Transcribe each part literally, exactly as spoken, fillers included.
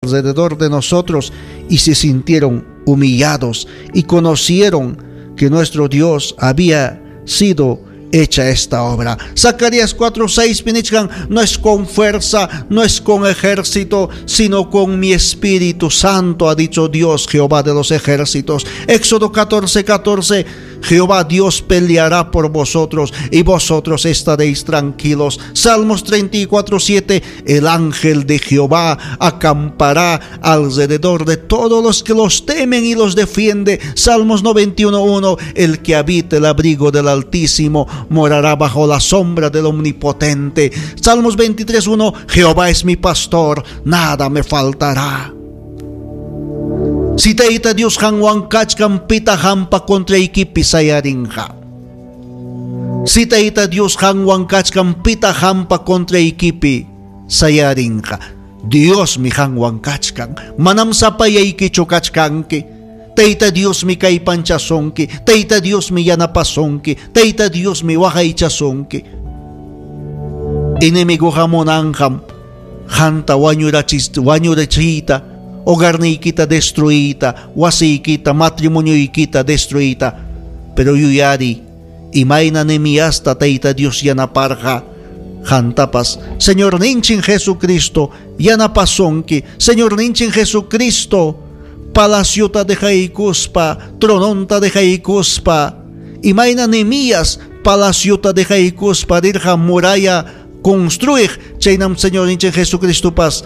Alrededor de nosotros y se sintieron humillados y conocieron que nuestro Dios había sido hecha esta obra. Zacarías cuatro seis pinichkan, no es con fuerza, no es con ejército, sino con mi Espíritu Santo, ha dicho Dios Jehová de los ejércitos. Éxodo catorce, catorce, Jehová Dios peleará por vosotros y vosotros estaréis tranquilos. Salmos treinta y cuatro, siete, el ángel de Jehová acampará alrededor de todos los que los temen y los defiende. Salmos noventa y uno, uno, el que habita el abrigo del Altísimo morará bajo la sombra del Omnipotente. Salmos veintitrés, uno, Jehová es mi pastor, nada me faltará. Si Tayta Dios qanwan kachkan, pitaq qampa contraykipi sayarinqa? Si Tayta Dios qanwan kachkan, pitaq qampa contraykipi sayarinqa? Diosmi qanwan kachkan, manam sapallaykichu kachkanki. Tayta Diosmi kallpanchasunki, Tayta Diosmi yanapasunki, Tayta Diosmi waqaychasunki. Enemigoqa munanqam qamta wañurachis wañurachiyta, hogarniykita destruiyta, wasiykita, matrimonioykita destruiyta. Pero yuyari, imayna Nehemiasta Tayta Dios yanaparqa, qamtapas Señorninchik Jesucristo yanapasunki. Señorninchik Jesucristo palaciota dejaykuspa, trononta dejaykuspa, imayna Nehemías palaciota dejaykuspa rirqa muralla construir, chaynam Señorninchik Jesucristopas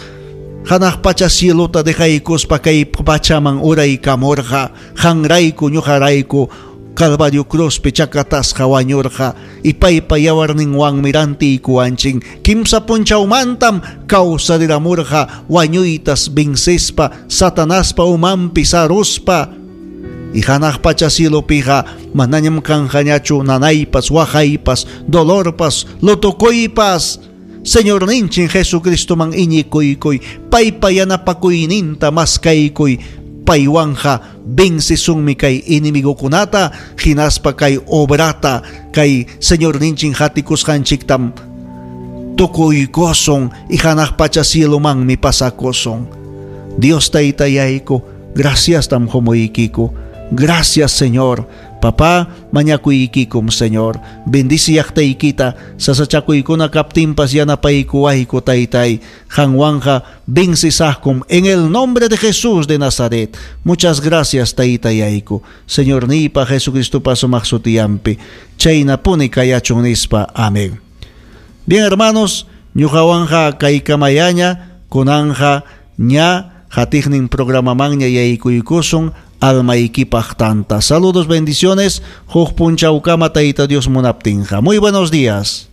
hanaq pacha cielota dejaykuspa kay pachaman uraykamurqa, qamrayku ñuqarayku Calvario cruzpi chakatasqa wañurqa y paypa yawarninwanmi rantiykuwanchik. Kimsa punchawmantam kawsariramurqa wañuytas vencespa, Satanaspa umanpi saruspa, y hanaq pacha cielopiqa manañam kanqañachu nanaypas, waqaypas, dolorpas, lutokuypas. Señorninchik Jesucristoman iñikuykuy, paypa yanapakuyninta maskaykuy, paywanja vencesunmi kay enemigokunata, hinaspa kay obrata, kay Señorninchik hatikusqanchiktam tukuykusun y hanaq pacha cielomanmi pasakusun. Dios Taytayayku, graciastam qumuykiku. Gracias, Señor. Papá, mañakuykikum, Señor. Bendice llaqtaykita, sasachakuykuna kaptinpas yanapaykuwayku, Taytay. Qanwanja vencesaqkum en el nombre de Jesús de Nazaret. Muchas gracias, Taytayayku. Señorniypa Jesucristopa sumaq sutiyampi. Chaynapuni kayachun nispa. Amén. Bien, hermanos, ñuqawanja kaykamayaña, kunanja ña qatiqnin programamanña yaykuykusun, almaykipaq tanta. Saludos, bendiciones. Huk punchawkama, Tayta Dios munaptinqa. Muy buenos días.